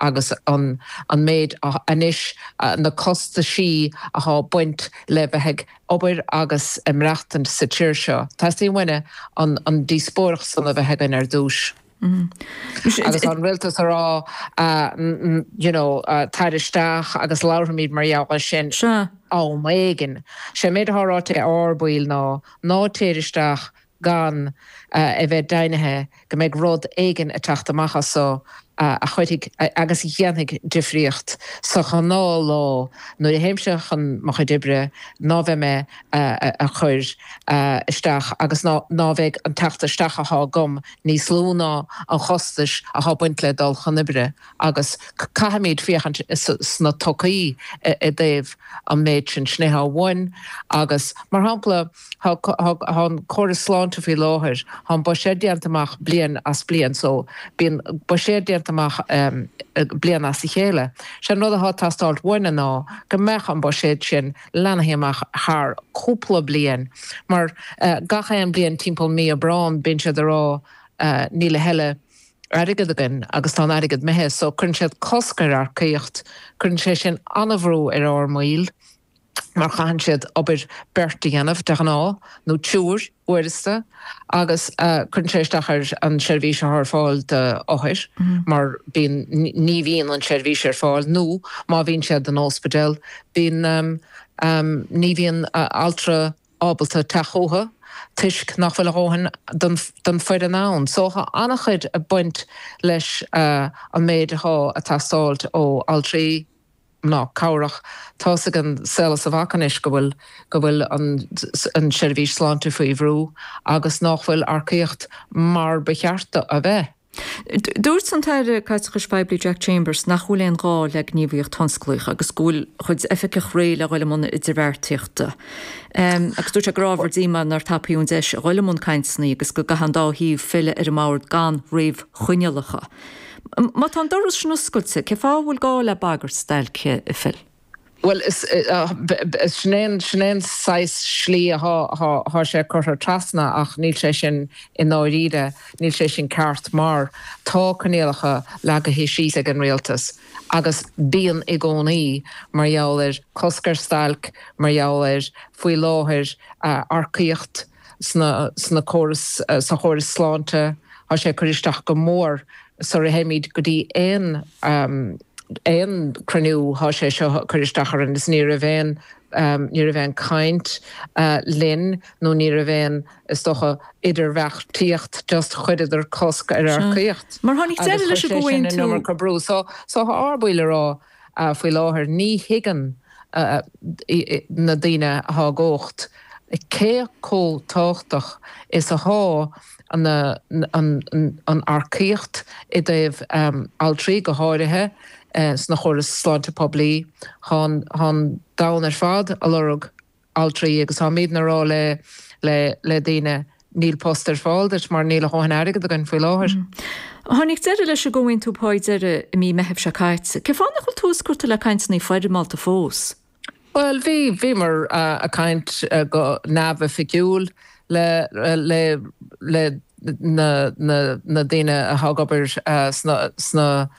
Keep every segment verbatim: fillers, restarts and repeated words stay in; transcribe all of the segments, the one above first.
Agus an an méid anois na costaisí atá baint le bheith ag obair agus ag maireachtaint sa tír seo. Teastaíonn uainne an an díospóireacht san a bheith againn ar dtús. Mm. Agus an rialtas a rá uh, you know, uh, tar isteach agus labhróimid mar gheall sin am éigin. Sé méid atá ráite ag ár mbaill ná ná téir isteach gan uh, a bheith deimhnithe go mbeidh rud éigin ag teacht amach as so uh, a chuirfidh agus a dhéanfaidh difríocht sa ghnáthlá nuair a théimse chun mo chuid oibre ná bheidh mé uh, a chur isteach agus ná bheidh an teacht isteach atá agam níos lú ná an chostas atá baint le dul chun oibre agus caithfimid féachaint sna todhchaí i dtaobh an méid sin sin amháin agus mar shampla tá an córas sláinte faoi láthair tá an buiséad déanta amach bliain as bliain so bíonn buiséad déanta amach um, bliain as a chéile. Sé an rud atá ag teastáil uainne ná go mbeadh an buiséad sin leathnaithe amach thar cúpla bliain mar uh, gach aon bliain timpeall mí Aibreán bíonn siad ag rá uh, níl a thuilleadh airgead againn agus tá an airgead imithe so cuireann siad cosc ar earcaíocht, cuireann sé sin an-bhrú ar ár mbaill mar caitheann siad obair beirt a dhéanamh de ghnáth nó triúr uaireanta agus uh, cuireann sé isteach ar an seirbhís ar fáil d'othair mm -hmm. mar bíonn ní bhíonn an seirbhís ar fáil nó má bhíonn siad in ospidéal bíonn um, um, ní bhíonn uh, altra ábalta teacht chucu toisc nach bhfuil a dhóthain den, den foireann ann. So tá an-chuid ag baint leis uh, an méid atá ag teastáil ó altraí mná cabhrach tá ag an saol is a bhac anois go bhfuil go bhfuil an, an seirbhís sláinte faoi bhrú agus nach bhfuil earcaíocht mar ba cheart a bheith. Dúirt an tAire Caiteachais Phoiblí Jack Chambers nach bhfuil aon ghá le gníomhaíocht thionsclaíoch agus go bhfuil chuid oifigeach réidh le dhul i mbun idirbheartaíochta. Um, agus dúirt sé gur ábhar díomá nár tapaíodh an deis a dhul i mbun cainteanna agus go gcaithfidh an dá thaobh filleadh ar an mbord gan réamhchoinníollacha. Má tá an doras sin oscailte, cén fáth a bhfuil gá le bagairt stailce a Phil? Well sin é saghas slí atá sé curtha trasna ach níl sé sin i ndáiríre, níl sé sin ceart mar tá coinníollacha leagtha síos ag an rialtas. Agus bíonn i gcónaí mar gheall ar cosc ar stailc, mar gheall ar faoi láthair earcaíocht sna sna córas sa chóras sláinte, Tá sé cur isteach go mór sara théimid go dtí aon um, aon cruinniú tá sé seo cur isteach orainn is ní raibh aon um, ní raibh aon caint uh, linn nó ní raibh aon is dócha idirbheartaíocht just chuireadar cosc ar earcaíocht. Mar tháinig deireadh leis an gcomhaontú brú so so tá ár mbaill ag rá uh, faoi láthair ní thuigeann uh, na daoine atá i gcumhacht cé chomh tábhachtach is atá an, an, an, an earcaíocht i dtaobh um, altraí go háirithe uh, sna chóras sláinte poiblí tá an domhan ar fad ag lorg altraí agus táimidne ag rá le le le daoine níl post ar fáil duit mar níl a dhóthain airgead againn faoi láthair. Mm. Tháinig deireadh leis an gcomhaontú pá deiridh i mí Meithimh seo caite. Cén fáth nach bhfuil tús curtha le cainteanna foirmeálta fós? Well bhí bhíomar uh, ag caint uh, go neamhoifigiúil le le le na na na daoine atá ag obair uh, sna sna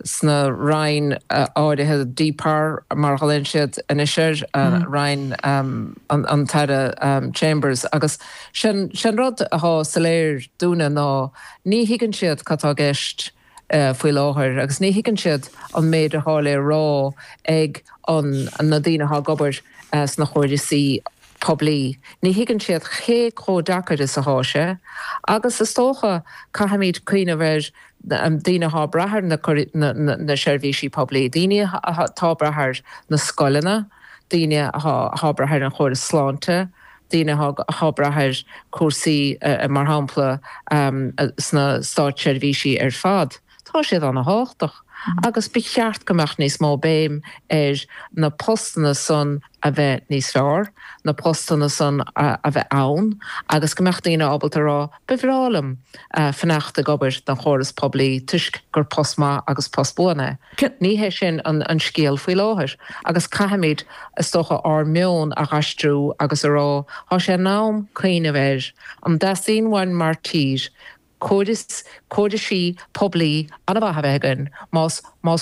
sna roinn uh, áirithe DPAR mar a ghlaonn siad anois ar uh, mm. roinn um, an, an tAire um, Chambers agus sin sin rud atá soiléir dúinne ná ní thuigeann siad cad tá i gceist uh, faoi láthair agus ní thuigeann siad an méid atá le rá ag an, na daoine atá ag obair uh, sna córaisí poiblí. Ní thuigeann siad cé chomh deacair is atá sé, agus is dócha caithfimid cuimhneamh ar daoine atá ag brath ar na, na, na, na seirbhísí poiblí, daoine atá ag brath ar na scoileanna, daoine atá ag brath ar an chóras sláinte, daoine atá ag brath ar cúrsaí uh, mar shampla um, sna státseirbhísí ar fad. Tá siad an-tábhachtach. Mm. Agus ba cheart go mbeadh níos mó béim ar na postanna san a bheith níos fearr, na postanna san a, a bheith ann, agus go mbeadh daoine ábalta rá ba bhreá liom uh, fanacht ag obair don chóras poiblí toisc gur post maith agus post buan é. Ní hé sin an, an scéal faoi láthair, agus caithfimid is dócha ár meon a aistriú agus a rá, Tá sé in am cuimhneamh ar an dteastaíonn uainn mar tír córas córaisí poiblí an-mhaith a bheith againn más más